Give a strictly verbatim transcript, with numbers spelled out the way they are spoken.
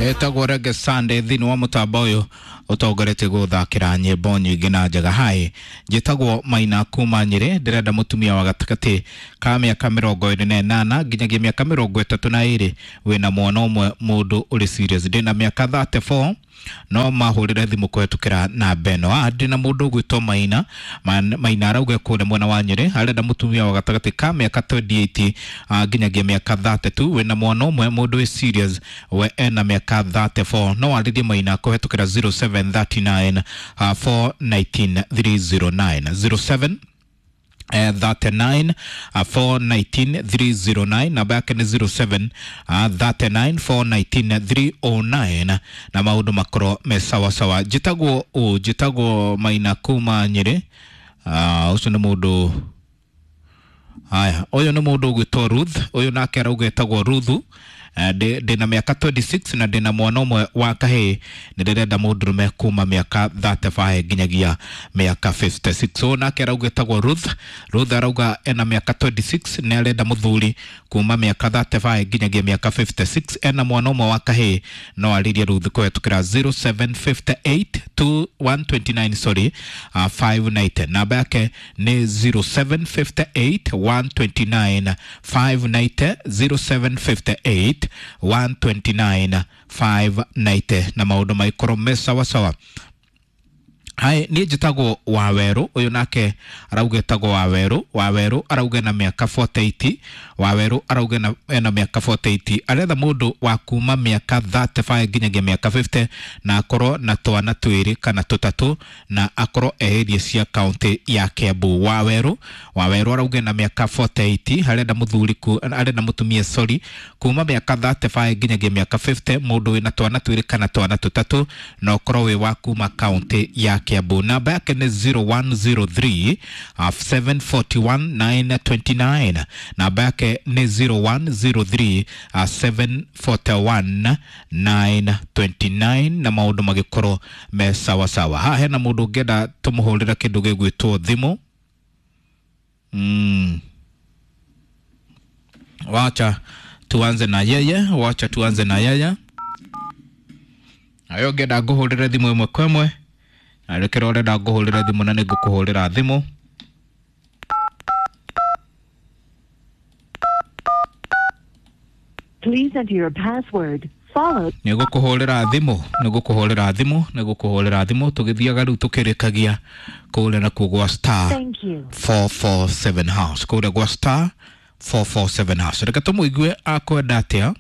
Etagwo Reggae Sunday thĩinĩ wa mũtambo ũyũ ũtongoretie gũthakĩra nyĩmbo nyingĩ na njega. Hai, njĩtagwo Maina kuma Nyĩrĩ, ndĩrenda mũtumia wa gatagatĩ ka mĩaka mĩrongo ĩrĩ na ĩnana nginyagia mĩaka mĩrongo ĩtatũ na ĩrĩ, wĩna mwana ũmwe, mũndũ ũrĩ serious. Ndĩna mĩaka thirty-four, no mahũrĩre thimũ kũhetũkĩra namba ĩno. Ah, ndĩna mũndũ ũgwĩtwo Maina. Maina arauga kũrĩa mwena wa Nyĩrĩ arenda mũtumia wa gatagatĩ ka mĩaka twenty-eight nginyagia mĩaka thirty-two, wĩna mwana ũmwe, mũndũ wĩ serious, we ena mĩaka thirty-four. No warĩrie Maina kũhetũkĩra zero seven thirty-nine four nineteen three zero nine, zero seven thirty-nine four nineteen three zero nine. Namba yake nĩ zero seven thirty-nine four nineteen three oh nine, na maũndũ makorwo me sawa sawa. Njĩtagwo ũ njĩtagwo Maina kuma Nyĩrĩ. Ũcio nĩ mũndũ. Haya, ũyũ nĩ mũndũ ũgwĩtwo Ruth. Ũyũ nake arauga etagwo Ruthu. Ndĩna mĩaka twenty-six na ndĩna mwana ũmwe wa kahĩĩ, nĩ ndĩrenda mũndũrũme kuma mĩaka thirty-five nginyagia mĩaka fifty-six. Ũyũ nake arauga etagwo Ruth. Ruth arauga ena mĩaka twenty-six, nĩ arenda mũthuri kuma mĩaka thirty-five nginyagia mĩaka fifty-six, ena mwana ũmwe wa kahĩĩ. No arĩrie Ruth kũhetũkĩra zero seven fifty-eight two one twenty-nine, sorry, uh, five ninety. Namba yake nĩ zero seven fifty-eight one twenty-nine five ninety, zero seven fifty-eight one twenty-nine five ninety, na maũndũ maikorwo me sawa sawa. Hai, niĩ njĩtagwo Wawerũ. Ũyũ nake arauga etagwo Wawerũ. Wawerũ arauga ena mĩaka forty-eight. Wawerũ arauga ena mĩaka forty-eight, aretha mũndũ wa kuma mĩaka thirty-five nginyagia mĩaka fifty, na akorwo na twana twĩrĩ kana tũtatũ, na akorwo ehĩrie cia kaunti ya Kiambu. Wawerũ Wawerũ arauga ena mĩaka forty-eight, arenda mũthuri ku, arenda mũtumia, sorry, kuma mĩaka thirty-five nginyagia mĩaka fifty, mũndũ wĩna twana twĩrĩ kana twana tũtatũ, na ũkorwo wĩ wa kuma kaunti ya Kiambu. Namba yake nĩ zero one zero three seven forty-one nine twenty-nine. Namba yake nĩ zero one zero three seven forty-one nine twenty-nine, na maũndũ magĩkorwo me sawa sawa. Haha hena mũndũ ũngĩenda tũmũhũrĩre kĩndũ gĩgwĩtwo thimũ. Mm. Wacha tuanze na yeye, wacha tuanze na yeye. Ayo ngĩenda ngũhũrĩre thimũ ĩmwe kwa ĩmwe. Arekera ũrenda ngũhũrĩra thimũ na nĩngũkũhũrĩra thimũ. Please enter your password followed. Nĩngũkũhũrĩra thimũ, nĩngũkũhũrĩra thimũ, nĩngũkũhũrĩra thimũ tũgĩthiaga rĩu tũkĩrĩkagia kũrĩa nakuo gwa star Thank you. four four seven hash, kũrĩa gwa star four four seven hash. Reke tũmũigue akwenda atĩa.